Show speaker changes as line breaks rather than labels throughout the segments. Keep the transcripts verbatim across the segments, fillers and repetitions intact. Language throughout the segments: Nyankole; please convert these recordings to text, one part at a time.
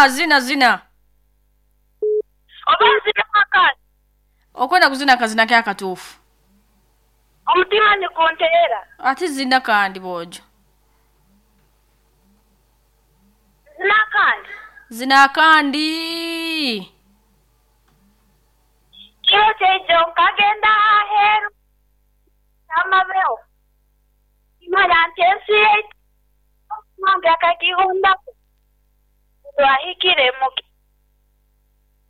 Zina zina zina.
Oba nzina akandi.
Okwenda kuzina akazina ke akatuufu.
Omutima nigunteera.
Ate zina kandi bwojo.
Zina akandi.
Zina akandi.
Kiro kyaijo nkagenda aheeru. Amabeho. Imara nti ensi yaitu. Omwange akagihundako. Twahikire mu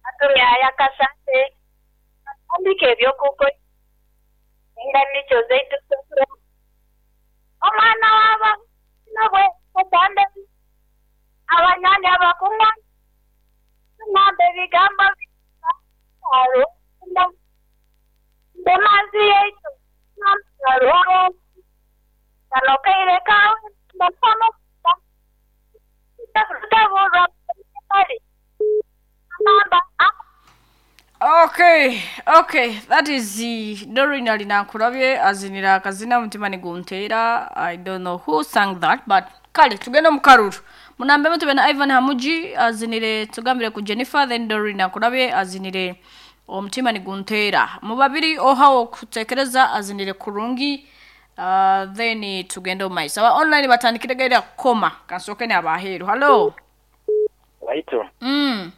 atuyaya kasante. Atandika eby'okukora. Enga nikyo zaitu tusura. Omwana waba nabwe katande. Abanyanya abakunywa. Nambe ebigambo aro. Ndemazi yaitu. Namaro. Kanokaire kawe. Ndapano.
Okay, okay, that is the Doreen Alinankulabye azinira akazina mutima nigunteera. I don't know who sang that, but kale tugende mu karuru. Munambe mutube na Ivan Hamuji azinire tugambire ku Jennifer, then Doreen Akulabye azinire omutima nigunteera. Mu babiri ohawo kutekereza azinire kurungi. Uh, then tugende omu maiso. Aba online batandikire gaira kukoma. Kansooke n'abaheeru. Hello.
Waito.
Mm.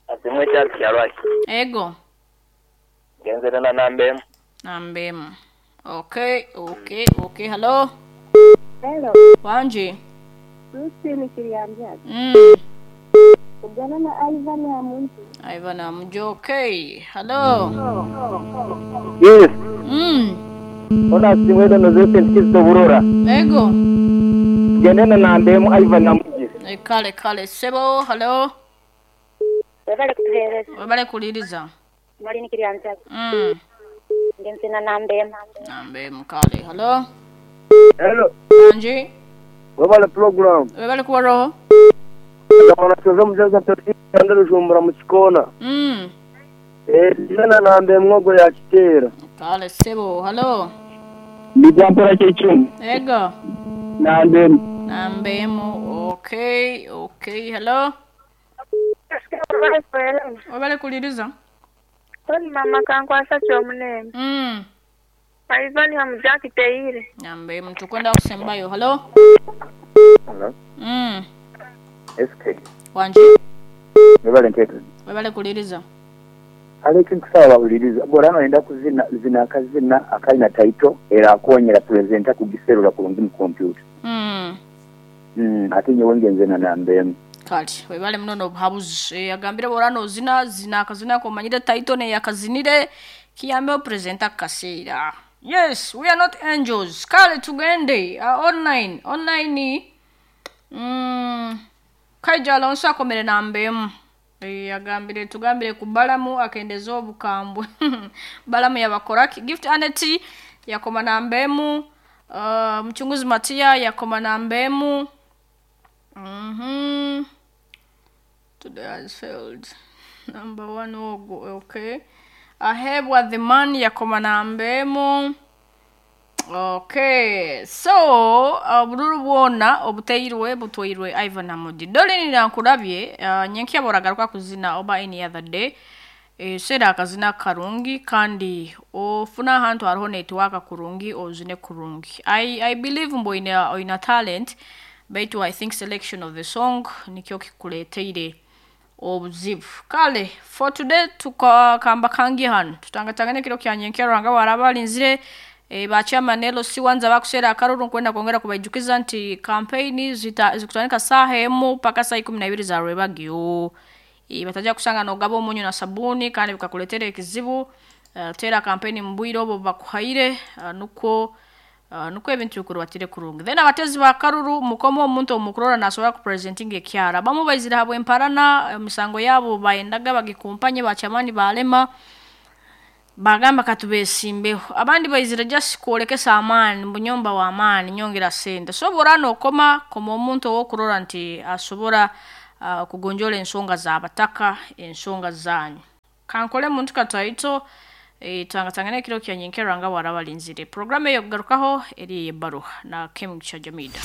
Azimwe kyali kyalwaki.
Ego.
Genzere na namba emu.
Namba emu. Okay, okay, okay. Hello.
Hello.
Wanji.
Christine Kiryambyagi.
Mm.
Ugana na Ivan Hamuji.
Ivan Hamuji, okay. Hello.
Yes.
Mm.
Ona simwe dono zese ntikizo burora.
Ego.
Gende na namba emu Ivan Hamuji.
E, kale kale sebo. Hello.
Webale kutuheereza.
Webale kuliriza.
Mwalini Kiryambyagi.
Mm.
Ngenze na namba emu.
Namba emu kale. Hello.
Hello.
Wanji.
Webale program.
Webale kuwa roho.
Ndabona tuzo mujaza tutanda rujumbura mu kikona.
Mm.
Eh, na namba emu ngo ya kitera.
Kale sebo. Hello.
Ndijampora kyekyo.
Ego.
Namba emu.
Namba emu. Okay, okay. Hello. Webale kuliriza.
Toni mama kankwasa ky'omunene.
Mm.
Ivan Hamuji akiteire.
Namba emu tukwenda kusembayo. Hello.
Hello.
Mm.
S K.
Wanji.
Webale ntetu.
Webale kuliriza.
Aleki nkusaba buliriza. Bora enda kuzina zina akazina akalina title era akonyera presenter kugiserula kulungi mu computer.
Mm.
Mm, ate nyewe ngenze na namba emu.
Kale webale muno obuhabuzi. E, agambire borano zina zina akazina komanyire title ne yakazinire kiyambe presenter kaseera. Yes, we are not angels. Kale tugende uh, online online. Mm. Kaija Alonso akomere namba emu. E, agambire tugambire ku Balamu akendeza obukambwe. Balamu yabakora Gift Aneti yakoma namba emu. Uh, Mchunguzi Matia yakoma namba emu. Mhm. Today has failed. Number one ogo, okay. Ahebwa the man yakoma namba emu. Okay. So, obululu uh, bwona obuteirwe butwairwe Ivan Hamuji. Doreen Nankulabye uh, nyenkya boragaruka kuzina oba any other day. E, sera akazina karungi kandi ofuna ahantu hariho network kurungi ozine kurungi. I I believe mbo ina ina talent. Baitu I think selection of the song nikyo kikuleteire obuzibu. Kale for today tukakamba kangi hano tutangatangane kiro kya nyenkya rwanga warabalinzire e, ba chairman L C wanza bakusera akaruru nkwenda kwongera kubaijukiza nti campaign zikutanika saha emu paka saa ikumi na ibiri za rwebagyo. E, bataja kusanga nogaba omunyu na sabuni kandi bikakuletere ekizibu. Uh, tera campaign mbwiro obo bakuhaire uh, nuko Uh, nuko ebintu bikurubatire kurungi. Then abatezi ba karuru mukomo omuntu omukurora nasobora kupresenting ekyara. Bamu baizira habwe emparana emisango yabo bayendaga bagikumpanye bachamani balema bagamba katubesimbeho. Abandi baizira just kwolekesa amaani mbunyomba wa amaani nyongera sente. So borano okoma koma omuntu owokurora nti asobora uh, kugonjola ensonga z'abataka ensonga zanyu. Kankole muntu kataito e, tangatangane kiro kya nyenkera nga warabalinzire. Programu eyo kugarukaho eri ebbaruha na Kemigisha Jamida.